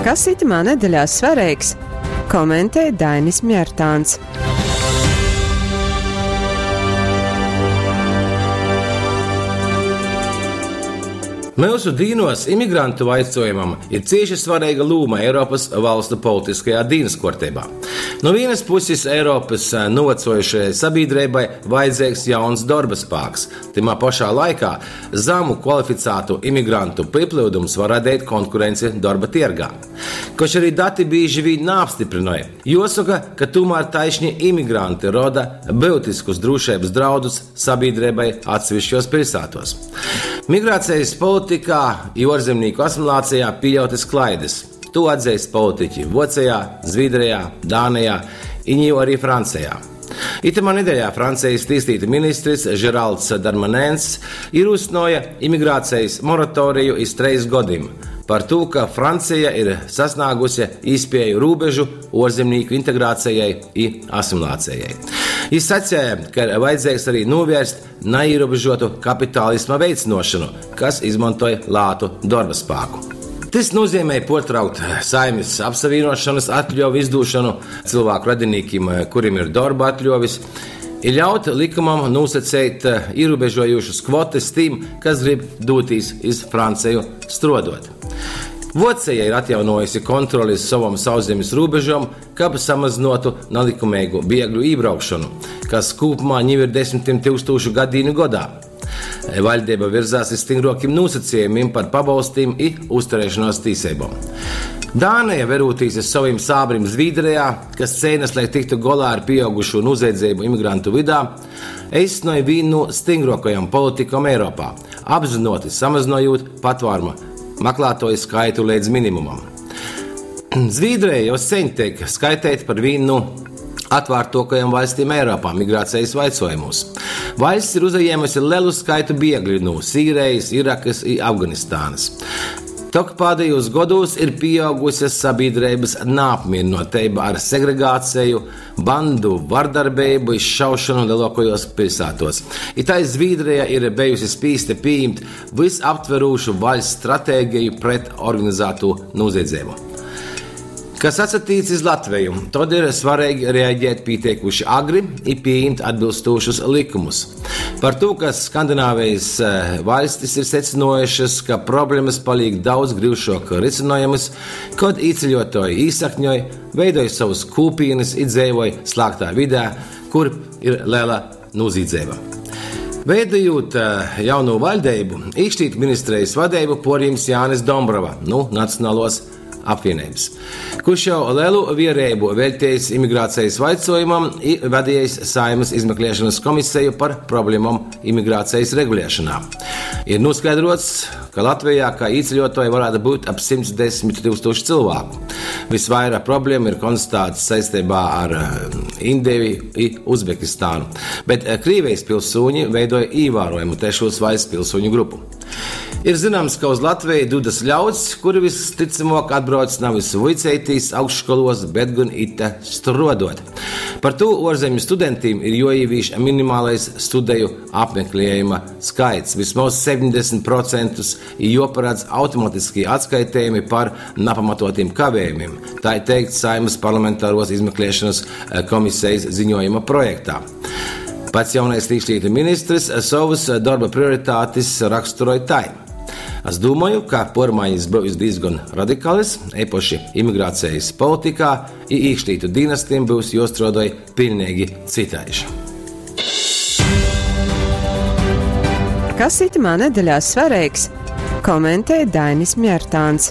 Kas itymā nedeļā svareigs, komentej Dainis Mjartāns. Myusu dīnuos imigrantu vaicuojumam ir cīši svareiga lūma Eiropys valstu politiskajā dīnys kuorteibā. Nu vīnys pusis Eiropys nūvacuojušajai sabīdreibai vajadzeigs jauns dorba spāks, tymā pošā laikā zamu kvalificātu imigrantu pīplyudums var radeit konkurenci dorba tiergā. Koč ari dati bīži vīn naapstyprynoj, juosoka, ka tūmār taišni imigranti roda byutiskus drūšeibys draudus sabīdreibai atseviškuos piļsātuos. Migracejis politikā i uorzemnīku asimilācejā pīļautys klaidys. Tū atzeist politiķi Vuocejā, Zvīdrejā, Dānejā i niu ari Francejā. Itymā nedeļā Francejis tīslītu ministrs Žeralds Darmanens īrūsynuoja imigracejis moratoriju iz treis godim, partū ka Franceja ir sasnāguse īspieju rūbežu uorzemnīku integracejai i asimilācejai. Jis saceja, ka ir vajadzeigs ari nūvērst naīrūbežuotu kapitalisma veicynuošonu, kas izmontoj lātu dorba spāku. Tys nūzeimej puortraukt saimis apsavīnuošonys atļuovu izdūšonu cylvāku radinīkim, kurim ir dorba atļuovis, i ļaut lykumam nūsaceit īrūbežojūšys kvotys tim, kas grib dūtīs iz Franceju struoduot. Vuoceja ir atjaunuojuse kontroli iz sovom sauszemis rūbežom, kab samazynuotu nalykumeigu biegļu ībraukšonu, kas kūpumā niu ir desmitim tyukstūšu gadīņu godā. Vaļdeiba virzās iz styngruokim nūsacejumim par pabolstim i uzturēšonuos tīseibom. Dāneja, verūtīs iz sovim sābrim Zvīdrejā, kas ceinas, lai tiktu golā ar pīaugušū nūziedzeibu imigrantu vydā, eistynoj vīnu nu styngruokajom politikom Eiropā, apzynuoti samazynojūt patvāruma maklātuoju skaitu leidz minimumam. Zvīdreja jau seņ teik skaiteita par vīnu nu atvārtuokajom vaļstim Eiropā migracejis vaicuojumūs. Vaļsts ir uzajēmuse lelu skaitu biegļu nu Sīrejis, Irakys i Afganistanys. Tok pādejūs godūs ir pīauguse sabīdreibys naapmierynoteiba ar segregāceju, bandu vardarbeibu i šaušonu leluokajuos piļsātuos. I tai Zvīdreja ir bejusi spīsta pījimt vysaptverūšu vaļsts stratēgeju pret organizātū nūziedzeibu. Kas atsatīc iz Latveju, tod ir svareigi reaģēt pīteikūši agri i pījimt atbylstūšus lykumus. Partū ka Skandinavejis vaļstis ir secynuojušys, ka problemys palīk daudz gryušuok rysynojamys, kod īceļuotuoji īsakņoj, veidoj sovys kūpīnys i dzeivoj slāgtā vidē, kur ir lela nūzīdzeiba. Veidojūt jaunū vaļdeibu, Īkšlītu ministrejis vadeibu puorjims Jānis Dombrava nu Nacionaluos apvīneibys, kurš jau lelu viereibu veļtejs imigracejis vaicuojumam i vadiejs Saeimys izmekliešonys komiseju par problemom imigracejis reguliešonā. Ir nūskaidruots, ka Latvejā kai īceļuotuoji varātu byut ap 110 tyukstūši cylvāku. Vysvaira problemu ir konstatāts saisteibā ar Indeju i Uzbekistānu, bet Krīvejis pilsūņi veidoj īvārojamu trešūs vaļsts pilsūņu grupu. Ir zināms, ka uz Latveju dūdas ļauds, kuri vystycamuok atbrauc navys vuiceitīs augstškoluos, bet gon ite struoduot. Par tū uorzemju studentim ir juoīvīš minimalais studeju apmekliejuma skaits, vysmoz 70% i juoparadz automatiskī atskaitejumi par napamatuotim kavējumim, tai teikts Saeimys parlamentaruos izmekliešonys komisejis ziņuojuma projektā. Pats jaunais īkšlītu ministrs sovys dorba prioritatis raksturoj tai, Es dūmoju, ka puormainis byus dīzgon radikalys, eipaši imigracejis politikā, i īkšlītu dīnastim byus juostruodoj piļneigi cytaiž. Kas itymā nedeļā svareigs, komentej Dainis Mjartāns.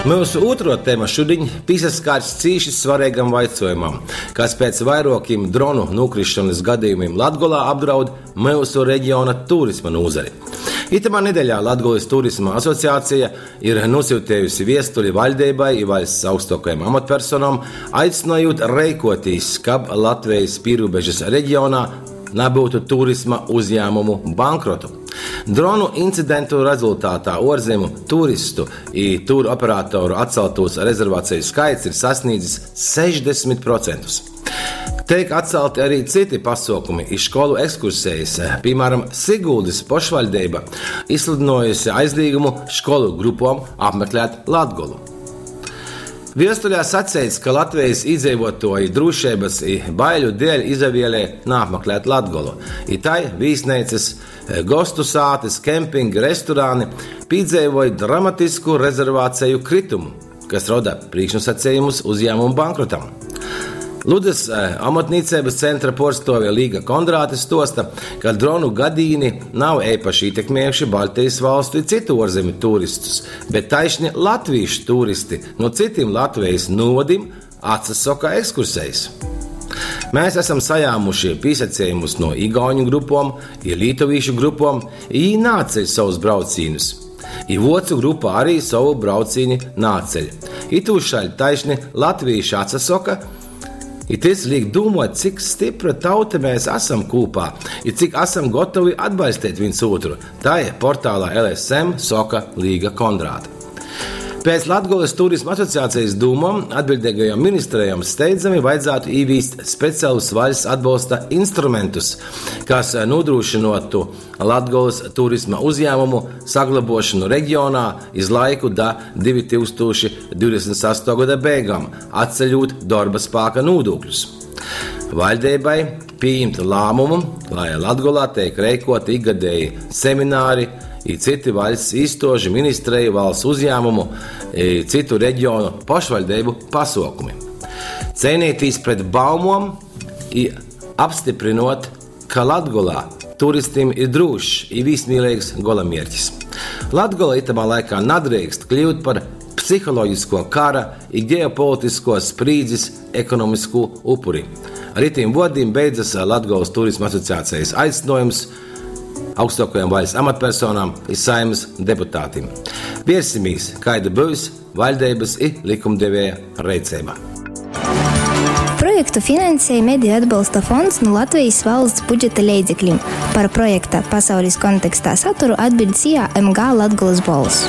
Myusu ūtruo tema šudiņ pīsaskars cīši svareigam vaicuojumam, kas pēc vairuokim dronu nūkrisšonys gadejumim Latgolā apdraud myusu regiona turisma nūzari. Itamā nedeļā Latgolys Turisma asociaceja ir nūsyutejusi viestuli vaļdeibai i vaļsts augstuokajom amatpersonom, aicynojūt reikuotīs, kab Latvejis pīrūbežys regionā nabyutu turisma uzjāmumu bankrotu. Dronu incidentu rezultātā uorzemu turistu i turoperatoru atcaltūs rezervaceju skaits ir sasnīdzis 60%. Teik atcelti arī citi pasuokumi i školu ekskursejis. Pīmāram, Siguldys pošvaļdeiba izsludynuojuse aizlīgumu školu grupom apmeklēt Latgolu. Viestulē saceits, ka Latvejis īdzeivuotuoji drūšeibys i baiļu deļ izavielej naapmeklēt Latgolu, i tai vīsneicys, gostu sātys, kempingi, restorani pīdzeivoj dramatisku rezervaceju kritumu, kas roda prīšknūsacejumus uzjāmumu bankrotam. Ludzys Omotnīceibys centra puorstuove Līga Kondrāte stuosta, ka dronu gadīni nav eipaši ītekmiejuši Baļtejis valstu i cytu uorzemju turistus, bet taišni latvīšu turisti nu cytim Latvejis nūvodim atsasoka ekskursejis. Mēs esam sajāmuši pīsacejumus nu igauņu grupom i lītovīšu grupom, i jī naatceļ sovus braucīņus. I vuocu grupa ari sovu braucīni naatceļ. Itūšaļt taišni latvīši atsasoka, i tys līk dūmuot, cik stypra tauta mes asam kūpā i cik asam gotovi atbaļsteit vīns ūtru, tai portālā LSM soka Līga Kondrāte. Pēc Latgolys Turisma asociacejis dūmom, atbiļdeigajom ministrejom steidzami vajadzātu īvīst specialus vaļsts atbolsta instrumentus, kas nūdrūšynuotu Latgolys turisma uzjāmumu saglobuošonu regionā iz laiku da 2028. goda beigom, atceļūt dorba spāka nūdūkļus. Vaļdeibai pījimt lāmumu, lai Latgolā teik reikuoti ikgadeji semināri i cyti vaļsts īstuožu, ministreju, valsts uzjāmumu i cytu regionu pošvaļdeibu pasuokumi. Ceineitīs pret baumom i apstyprynuot, ka Latgolā turistim ir drūšs i vīsmīleigs golamierķis. Latgola itamā laikā nadreikst kliut par psihologiskuo kara i geopolitiskuos sprīdzis ekonomiskū upuri. Ar itīm vuordim beidzas Latgolys Turisma asociacejis aicynuojums augstuokajom vaļsts amatpersonām i Saeimys deputatim. Viersimīs, kaida byus vaļdeibys i lykumdevieja reiceiba. Projektu finansej Mediju atbalsta fonds nu Latvejis valsts budžeta leidzeklim. Par projekta Pasaulis kontekstā saturu atbiļd SIA MG Latgolys Bolss.